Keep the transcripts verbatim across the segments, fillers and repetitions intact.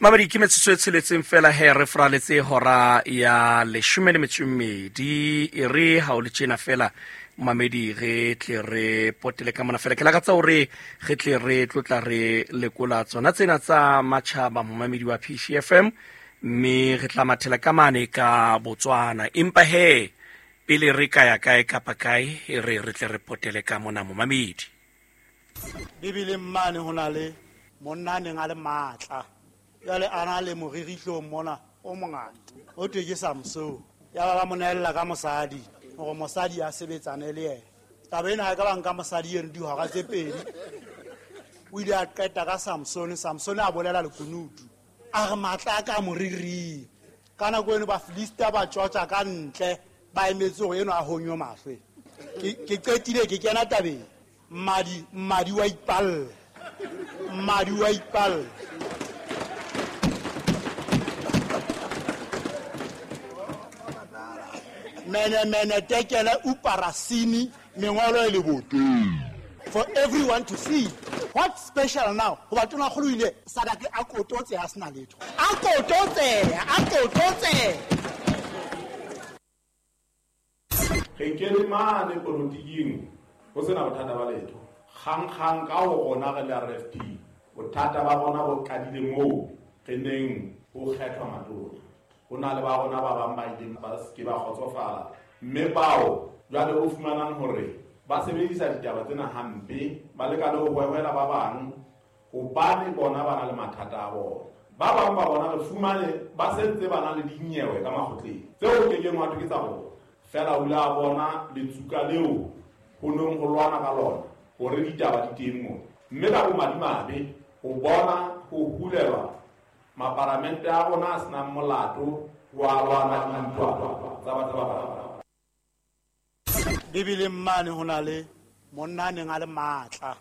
Mamedi, ke metsotso e tsheletseng fela he re fraletse hora ya leshome le metso e mmedi. E re ha o le tjena fela mamedi, re tle re potele ka mona fela. Ke lakatsa hore re tle re tlotla re lekola tsona tsena tsa matjhaba momamedi wa P C F M, mme re tla mathela ka mane ka Botswana. Empa he pele re ka ya kae kapa kae, e re re tle re potele ka mona momamedi. Bibeleng mane ho na le monna a neng a le matla, jwale a na le moririhlong mona o mongata, ho thwe ke Samson. Ya ba ba mo neella ka mosadi hore mosadi a sebetsane le yena. Taba ena ha e ka ba nka mosadi eno dihora tse pedi, o ile a qeta ka Samson. Samson a bolela lekunutu, a re matla a ka moriring. Ka nako eno Bafilista ba tjotja ka ntle, ba emetse hore eno a honywe mahlo. Ke, ke qetile ke kena tabeng. Mmadi, mmadi wa ipalla, mmadi wa ipalla. Mene mene tekele uparasini mengolo e le boteng for everyone to see. What special now? Hoba tona kgolo ile sadake a kototse a sena letho, a kototse, a kototse. Re kene mane polotiking ho sena bothata ba letho. Kgang-kgang ka ho rona re le R F P, bothata ba rona bo qadile moo re neng ho kgethwa matona. Ho na le ba rona ba bang ba ileng ba se ke ba kgotsofala, mme bao jwale o fumanang hore ba sebedisa ditaba tsena hampe, ba leka le ho hwehwela ba bang hobane bona ba na le mathata a bona. Ba bang ba bona re fumane ba sentse ba na le dinyewe ka makgotleng tseo o kekeng wa thwe ke tsa bona. Feela o ile a bona letsuka leo ho neng ho lwana ka lona hore ditaba di teng moo. Mme ka bomadimabe ho bona ho hulelwa maparamente a rona a senang molato wa lwana dintwa tsa batho ba bang. Bibeleng mane ho na le monna a neng a le matla,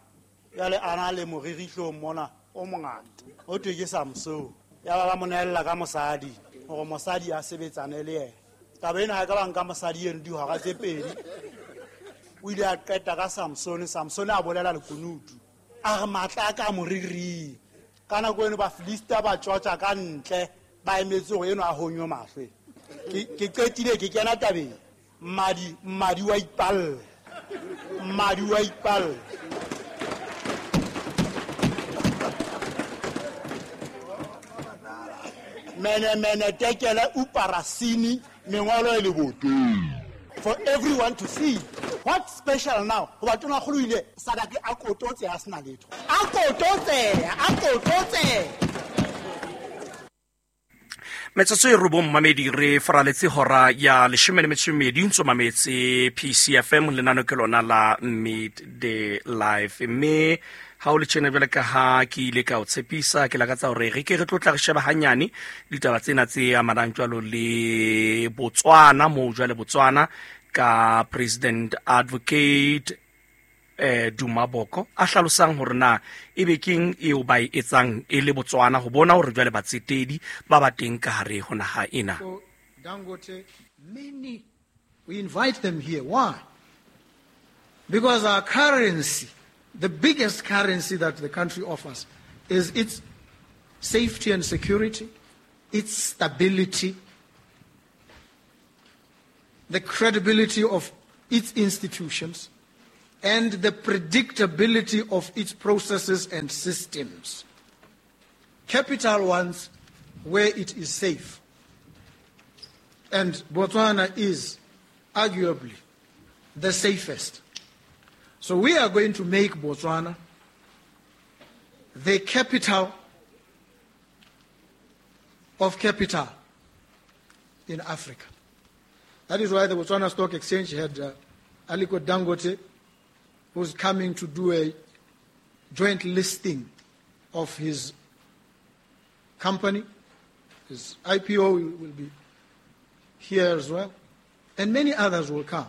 jwale a na le moririhlong mona o mongata, ho thwe ke Samson. Ya ba ba mo neella ka mosadi hore mosadi a sebetsane le yena. Taba ena ha e ka ba nka mosadi eno dihora tse pedi, o ile a qeta ka Samson. Samson a bolela lekunutu, a re matla a ka moriring. Ka nako eno Bafilista ba tjotja ka ntle, ba emetse hore eno a honywe mahlo. Ke, ke qetile ke kena tabeng. Mmadi, mmadi wa ipalla, mmadi wa ipalla. Mene mene tekele uparasini mengolo e le boteng for everyone to see. What special now? Hoba tona kgolo ile sadake a kototse a sena letho, a kototse, a kototse. Metsotso e robong mamedi, re faraletse hora ya leshome le metso e mmedi, ntso mametse P C F M, lenano ke lona la Midday Live. Mme ha o le tjena jwale ka ha ke ile ka o tshepisa, ke lakatsa hore re ke re tlotla re sheba hanyane ditaba tsena tse amanang jwalo le Botswana, moo jwale Botswana ka President Advocate eh Duma Boko a hlalosang hore na ebe keng eo ba e etsang e le Botswana ho bona hore jwale batsetedi ba ba teng ka hare ho naha ena. So Dangote, many, we invite them here. Why? Because our currency, the biggest currency that the country offers, is its safety and security, its stability, the credibility of its institutions, and the predictability of its processes and systems. Capital wants where it is safe. And Botswana is arguably the safest. So we are going to make Botswana the capital of capital in Africa. That is why the Botswana Stock Exchange had, uh, Aliko Dangote, who's coming to do a joint listing of his company. His I P O will be here as well. And many others will come.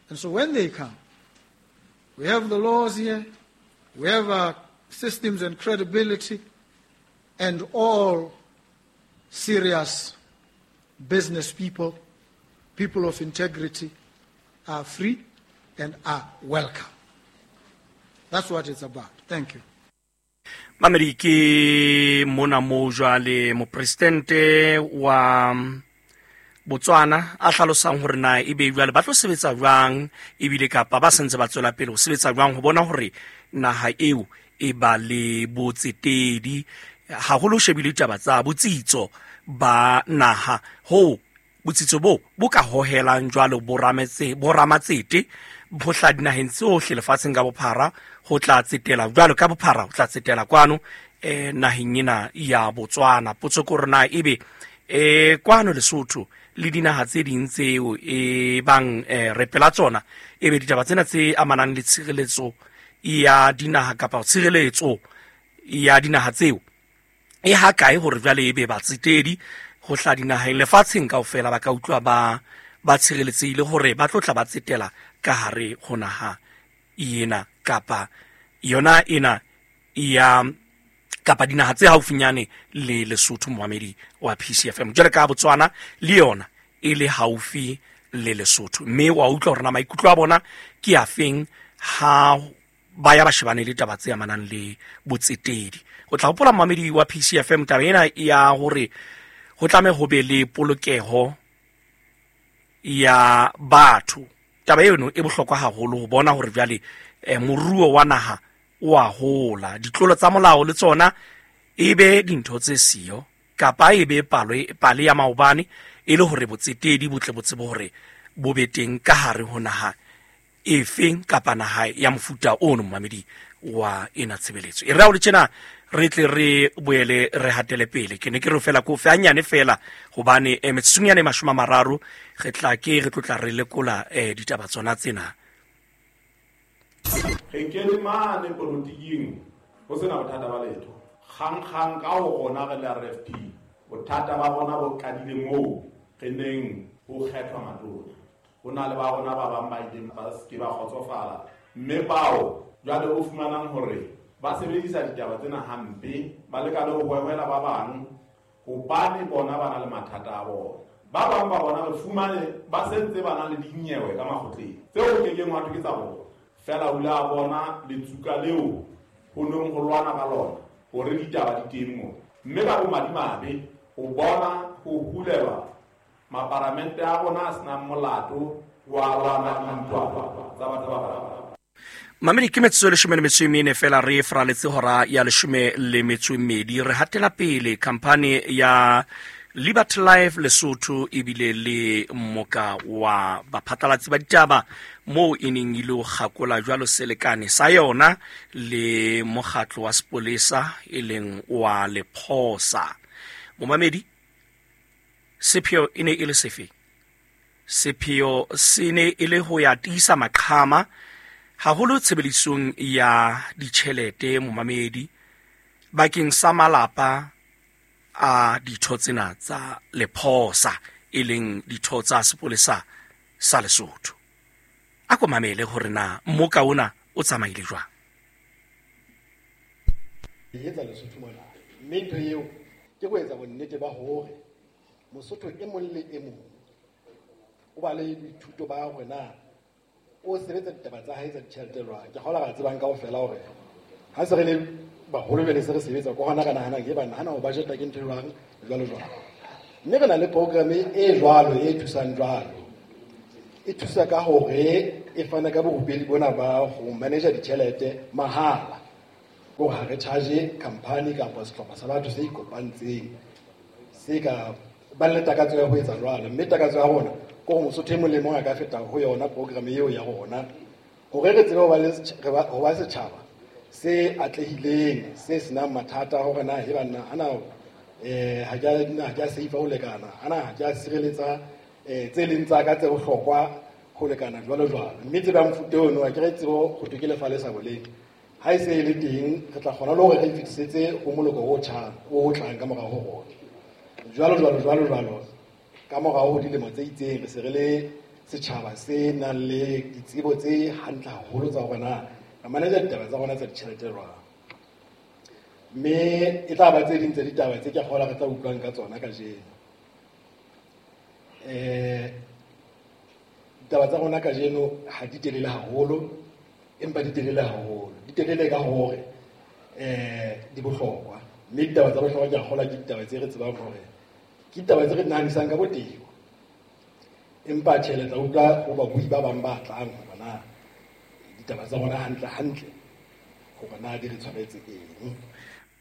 And so when they come, we have the laws here, we have our systems and credibility, and all serious business people, people of integrity, are free and are welcome. That's what it's about. Thank you. Mamedi, ke mona mo jwale mopresidente wa Botswana a hlalosang hore na ebe jwale ba tlo sebetsa jwang, ebile kapa ba sentse ba tswela pele ho sebetsa jwang ho bona hore naha eo e ba le botsetedi, haholo ho shebile ditaba tsa botsitso ba naha, ho botsitso bo bo ka hohelang jwalo borametse boramatsete bo hla dinaheng tsohle lefatsheng ka bophara, ho tla tsetela jwalo ka bophara, ho tla tsetela kwano eh naheng ena ya Botswana. Potso ke hore na ebe eh kwano Lesotho le dinaha tse ding tseo e bang eh, re pela tsona, ebe ditaba tsena tse amanang le tshireletso ya dinaha kapa tshireletso ya dinaha tseo e ha kae hore jwale ebe batsetedi ho hla dinaheng lefatsheng kaofela ba ka utlwa ba ba tshireletsehile hore ba tlo tla ba tsetela ka hare ho naha ena kapa yona ena ya kapa dinaha tse haufinyane le Lesotho. Moamedi wa P C F M, jwale ka Botswana le yona e le haufi le Lesotho, mme wa utlwa hore na maikutlo a bona ke a feng ha ba ya ba shebane le taba tse amanang le botsetedi. O tla hopola moamedi wa P C F M taba ena ya hore ho tlameha ho be le polokeho ya batho. Taba eno e bohlokwa haholo ho bona hore jwale eh, moruo wa naha o a hola, ditlolo tsa molao le tsona e be dintho tse siyo kapa e be palo pale ya maobane, e le hore botsetedi bo tle bo tsebe hore bo be teng ka hare ho naha efeng kapa naha ya mofuta ono. Momamedi wa ena tshebeletso e re ha o le tjena re tle re boele re hatele pele. Ke ne ke re fela ko fe hanyane fela hobane eh, metsotsong yane mashome a mararo re tla ke re tlotla re lekola eh, ditaba tsona tsena. Re kene mane polotiking ho sena bothata ba letho, kgang-kgang ka ho rona re le R F P, bothata ba rona bo qadile moo re neng ho kgethwa matona. Ho na le ba rona ba bang ba ileng ba se ke ba kgotsofala, mme bao jwale o fumanang hore ba sebedisa ditaba tsena hampe, ba leka le ho hwehwela ba bang hobane bona ba na le mathata a bona. Ba bang ba bona re fumane ba sentse ba na le dinyewe ka makgotleng tseo ke keng wa thwe ke tsa bona. Fela o la bona letsuka leo ho neng ho lwana ka lona hore ditaba di teng moo, mme ka bomadimabe o bona ho hulelwa maparamente a rona a senang molato wa lwana dintwa tsa batho ba bang. Mamedi, ke metsotso e leshome le metso e mene fela re fraletse hora ya leshome le metso e mmedi. Re hatela pele khampani ya Liberty Life Lesotho ebile le moka wa baphatlalatsi ba ditaba moo e neng ile ho kgakola jwalo selekane sa yona le mokgatlo wa sepolesa e leng wa Lephosa. Momamedi, sepheo e ne e le sefe? Sepheo se ne e le ho ya tiisa maqhama haholo tshebedisong ya ditjhelete momamedi bakeng sa malapa a ditho tsena tsa Lephosa e leng ditho tsa sepolesa sa Lesotho. A ko mamele hore na mmoka ona o tsamaile jwang. E etsa Lesotho mona, mme ntho eo ke ho etsa bonnete ba hore Mosotho e mong le e mong o ba le boithuto ba hore na o sebetsa ditaba tsa hae tsa ditjhelete jwang. Ke kgolwa re tsebang kaofela hore ha se re le baholo jwale se re sebetsa ko hona re nahanang ke ba nahana ho budgeta ke ntho jwang jwalo jwalo. Mme re na le program e jwalo e thusang jwalo, e thusa ka hore e fana ka borupedi bona ba ho manager ditjhelete mahala, ko ha re charge company kapa sehlopha sa batho se ikopantseng se ka ba le takatso ya ho etsa jwalo. Mme takatso ya rona ke hore Mosotho e mong le mong a ka feta ho yona program eo ya rona hore re tsebe ho ba le ho ba setjhaba se atlehileng se senang mathata hore na e banna ana eh ha ke ha ke a safe ho lekana, ana ha ke a sireletsa eh tse leng tsa ka tse bohlokwa ho lekana jwalo jwalo. Mme tseba mofuta ono a ke re tsebo ho thwe ke lefa le sa boleng ha e se e le teng, re tla kgona le hore re e fetisetse ho moloko o tjhang o tlang ka morao ho rona jwalo jwalo jwalo jwalo. Ka morao ho dilemo tse itseng re se re le setjhaba se nang le ditsebo tse hantle haholo tsa hore na re manager ditaba tsa rona tsa ditjhelete jwang. Mme e tla ba tse ding tsa ditaba tse ke kgolwa re tla utlwang ka tsona kajeno. Eh ditaba tsa rona kajeno ha di telele haholo, empa di telele haholo. Di telele ka hore eh di bohlokwa mme ditaba tsa bohlokwa ke a kgolwa ke ditaba tse re tsebang hore ke ditaba tse re nahanisang ka botebo empa tjhe le tla utlwa ho babui ba bang ba tlang hore na ditaba tsa rona hantle hantle hore na di re tshwaretse eng.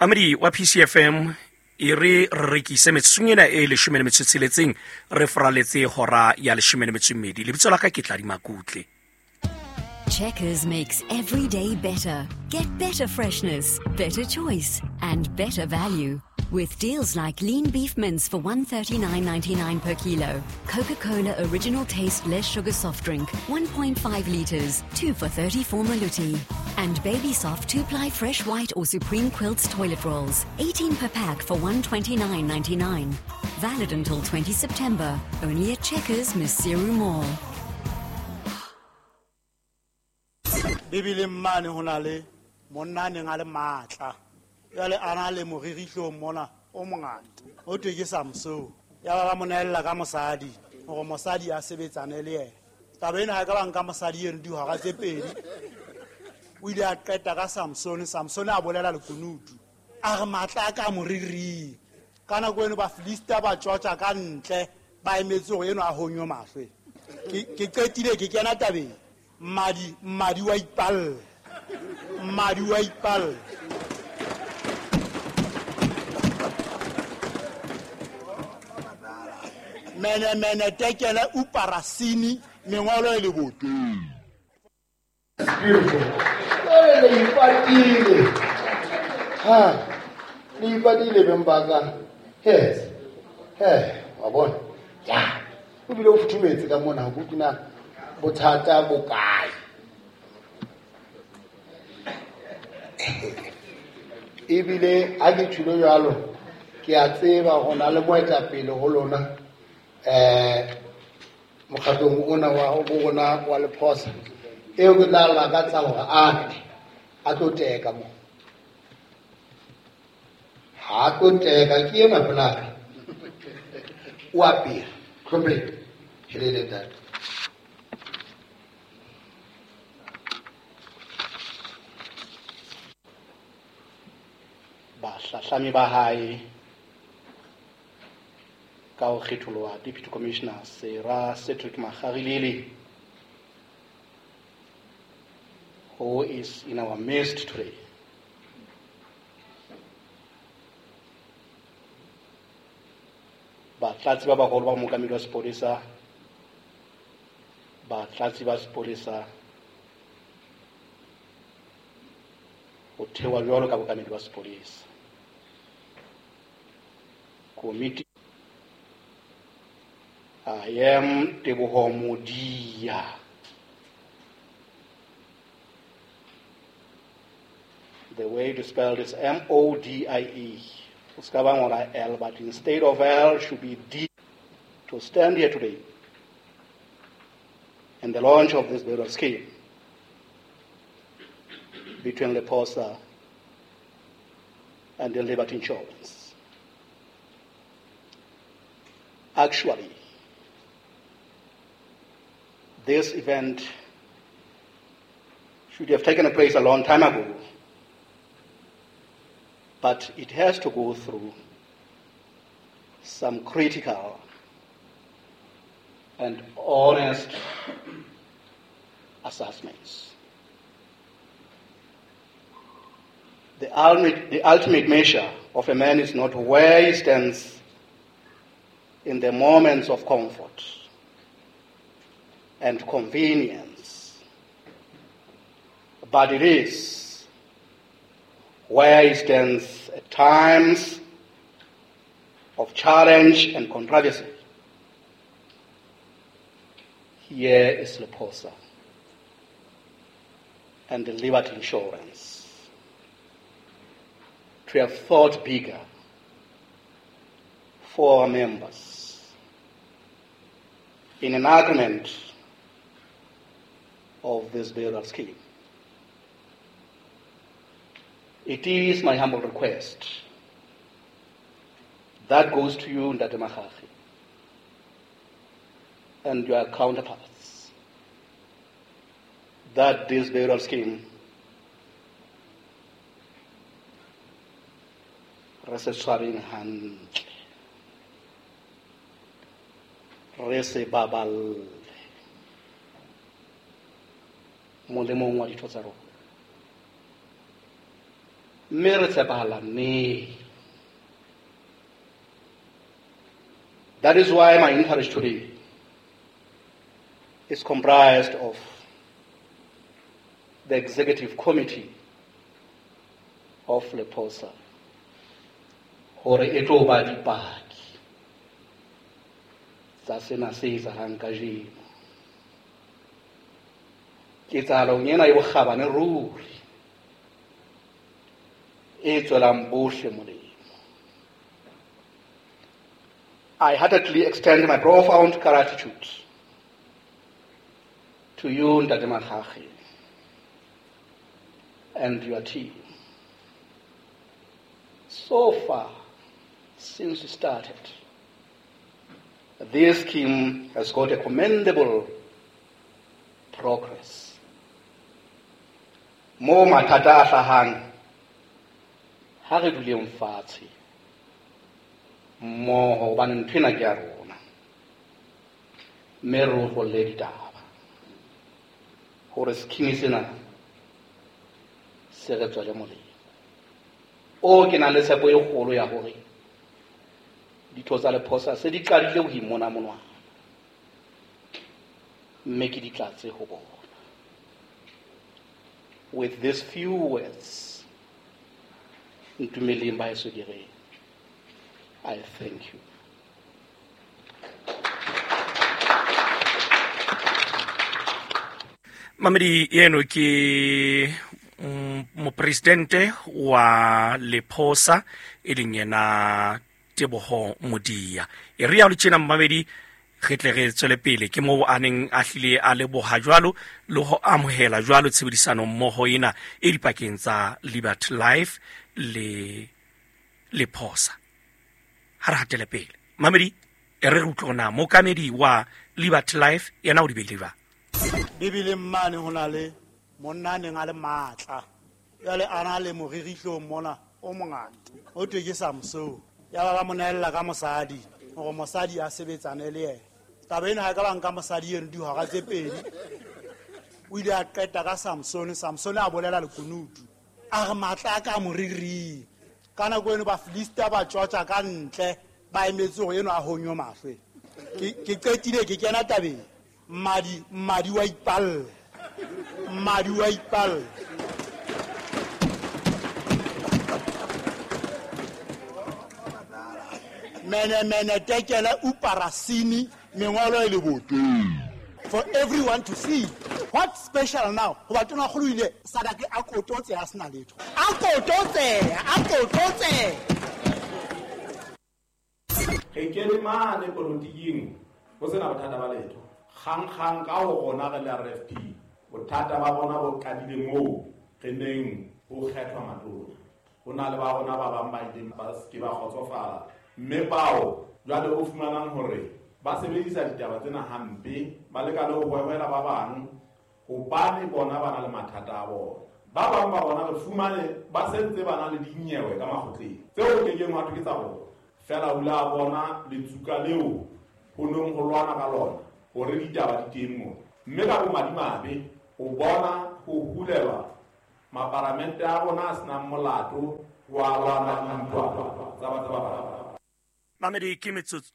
Amedi wa P C F M e re re rekise metsotsong ena e leshome le metso e tsheletseng re foraletse hora ya leshome le metso e mmedi. Lebitso la ka ke Tladi Makutle. Checkers makes every day better. Get better freshness, better choice, and better value. With deals like lean beef mince for one thirty-nine ninety-nine per kilo, Coca-Cola original taste less sugar soft drink, one point five liters, two for thirty-four maluti, and Baby Soft two-ply fresh white or Supreme Quilts toilet rolls, eighteen per pack for one twenty-nine ninety-nine. Valid until twentieth September, only at Checkers, Maseru Mall. Bibeleng mane ho na le monna a neng a le matla. Jwale a na le moririhlong mona o mongata. Ho thwe ke Samson. Ya ba ba mo nehella ka mosadi hore mosadi a sebetsane le yena. Taba ena ha e ka ba nka mosadi eno dihora tse pedi. O ile a qeta ka Samson. Samson a bolela lekunutu. A re matla a ka moriring. Ka nako eno Bafilista ba tjotja ka ntle ba emetse hore eno a honywe mahlo. Ke ke qetile ke kena tabeng. Madi, madi wa ipalla. Madi wa ipalla. Mene mene tekele uparasini mengolo e le boteng. Beautiful. Le ipatile. Ha. Le ipatile bembaka. Yes. He, wa bona. Ya. O bile o futhumetse ka mona ho kutuna bothata bo kae. Ebile ha ke tjholo jwalo ke a tseba go na le moetapele ho lona eh mokgatlong ona wa bo rona wa Lephosa eo ke tla lakatsa hore a tle a tlo teka mo. Ha tlo teka ke ena pelaka o apere tlhomphe helele ntate. Bahlahlami ba hae ka ho kgetholoha Deputy Commissioner Sera Cedric Makgarilele, who is in our midst today. Batlatsi ba baholo ba mookamedi wa sepolesa, batlatsi ba sepolesa ho thewa jwalo ka bookamedi ba sepolesa. Komiti I am Teboho Modia. The way to spell this M O D I E. L, but instead of L should be D. To stand here today and the launch of this burial scheme between Lephosa and the Liberty Insurance. Actually, this event should have taken place a long time ago, but it has to go through some critical and honest assessments. The ultimate, the ultimate measure of a man is not where he stands in the moments of comfort and convenience, but it is where he stands at times of challenge and controversy. Here is Lephosa and the Liberty Insurance to have thought bigger for our members in an agreement of this burial scheme. It is my humble request that goes to you, Ntate Makgakge, and your counterparts, that this burial scheme Re se tshwareng hantle, re se baballe molemong wa ditho tsa rona, mme re tshepahalaneng. That is why my interest today is comprised of the executive committee of LEPOSA, hore e tlo ba dipaki tsa sena se etsahalang kajeno. Ketsahalong ena e bokgabane ruri, e tswelang bohle molemo. I heartily extend my profound gratitude to you, Ntate Makgakge, and your team. So far, since we started, this scheme has got a commendable progress. Mo mathata a hlahang, ha re duleng fatshe mmoho, hobane ntho ena ke ya rona, mme re otlolle ditaba hore scheme sena se re tswele molemo. O ke nang le tshepo e kgolo ya hore ditho tsa LEPOSA se di qadile ho imona monwana, mme ke di tlatse ho bona. With these few words, ntumeleng ba heso ke re, I thank you. Mamedi eno ke mopresidente wa LEPOSA e leng yena Teboho Modia. E re ya le tjena mamedi, re tle re tswele pele ke moo a neng a hlile a leboha jwalo le ho amohela jwalo tshebedisano mmoho ena e dipakeng tsa Liberty Life le LEPOSA. Ha re hatele pele mamedi, e re re utlwe na mookamedi wa Liberty Life yena o di beile jwang. Bibeleng mane ho na le monna a neng a le matla, jwale a na le moririhlong mona o mongata, ho thwe ke Samson. Ya ba ba mo nehella ka mosadi hore mosadi a sebetsane le yena. Taba ena ha e ka ba nka mosadi eno dihora tse pedi, o ile a qeta ka Samson. Samson a bolela lekunutu, a re matla a ka moriring. Ka nako eno Bafilista ba tjotja ka ntle, ba emetse hore eno a honywe mahlo. Ke qetile ke kena tabeng, mmadi mmadi wa ipalla, mmadi wa ipalla. Mene mene tekele uparasini mengolo e leboteng for everyone to see. What special now? Hoba tona kgolo ile sadake a kototse a sena letho, a kototse a kototse. Re kene mane polotiking ho sena bothata ba letho. Kgang-kgang ka ho rona re le R F P, bothata ba rona bo qadile moo re neng ho kgethwa matona. Ho na le ba rona ba bang ba ileng ba se ke ba kgotsofala, mme bao jwale o fumanang hore ba sebedisa ditaba tsena hampe, ba leka le ho hwehwela ba bang hobane bona ba na le mathata a bona. Ba bang ba bona re fumane ba sentse ba na le dinyewe ka makgotleng tseo ke keng wa thwe ke tsa bona. Fela o la bona letsuka leo ho neng ho lwana ka lona hore ditaba di teng moo. Mme ka bomadimabe o bona ho hulelwa maparamente a rona a senang molato wa lwana dintwa tsa batho ba bang. Mamedi ke metsotso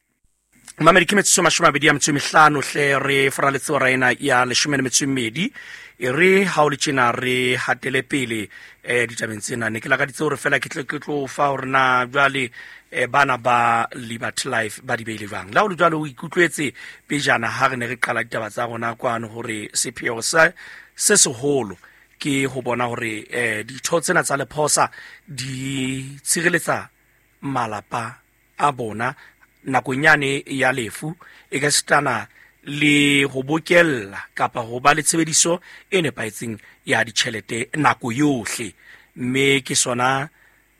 Mamedi ke metsotso mashome a mabedi a metso e mehlano hle re faraletse hora ena ya leshome le metso e mmedi. E re ha o le tjena re hatele pele eh ditabeng tsena. Ne ke lakaditse hore fela ke tle ke tlo fa hore na jwale eh bana ba Liberty Life ba di beile jwang. La ho le jwalo o ikutlwetse pejana ha re ne re qala ditaba tsa rona kwano hore sepheo sa se seholo ke ho bona hore eh ditho tsena tsa LEPOSA di tshireletsa malapa a bona nakong yane ya lefu, e ka sitana le ho bokella kapa ho ba le tshebediso e nepahetseng ya ditjhelete nako yohle. Mme ke sona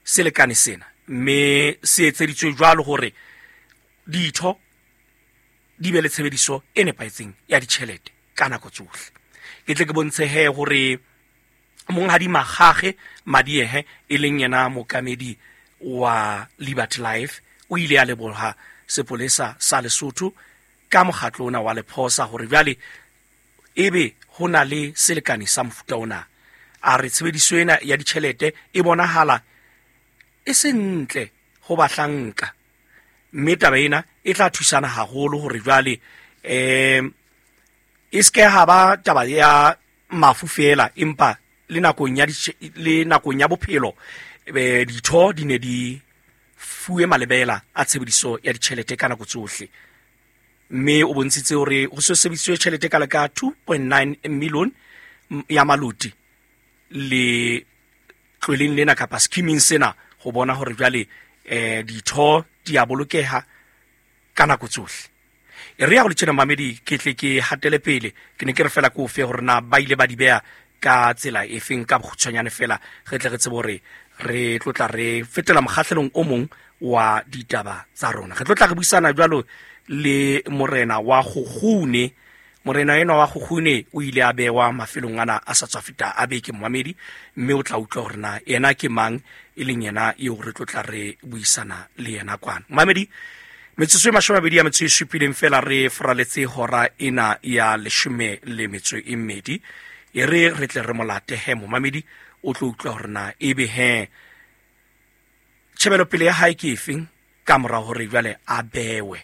selekane sena, mme se etseditswe jwalo hore ditho di be le tshebediso e nepahetseng ya ditjhelete ka nako tsohle. Ke tle ke bontshe he hore monghadi Makgakge Madiehe e leng yena mookamedi wa Liberty Life o ile a leboha sepolesa sa Lesotho ka mokgatlo ona wa Lephosa hore jwale ebe ho na le selekane sa mofuta ona. A re tshebediso ena ya ditjhelete e bonahala e se ntle ho bahlanka, mme taba ena e tla thusana haholo hore jwale eh e ske ha ba taba ya mafu fela, empa le nakong ya le nakong ya bophelo ditho di ne di fuwe malebela a tshebediso ya ditjhelete ka nako tsohle. Mme o bontshitse hore ho se sebedisitswe tjhelete ka leka two point nine million ya maloti le tlweleng lena kapa scheming sena ho bona hore jwale eh ditho di a bolokeha ka nako tsohle. E re ya go le tjena mamedi ke tle ke hatele pele, ke ne ke re fela ko fe hore na ba ile ba di beha ka tsela e feng ka bokgutshwanyane fela, re tle re tsebe hore re tlotla re fetela mokgahlelong o mong wa ditaba tsa rona. Re tlotla re buisana jwalo le morena wa Kgukgune. Morena enwa wa Kgukgune o ile a bewa mafelong ana a sa tswa feta a beke momamedi, mme o tla utlwa hore na yena ke mang e leng yena eo re tlotla re buisana le yena kwana. Momamedi, metsotso e mashome a mabedi a metso e supileng fela re foraletse hora ena ya leshome le metso e mmedi. E re re tle re molate he momamedi, o tlo utlwa hore na ebe he tjhebelopele ya hae ke efeng ka mora hore jwale a bewe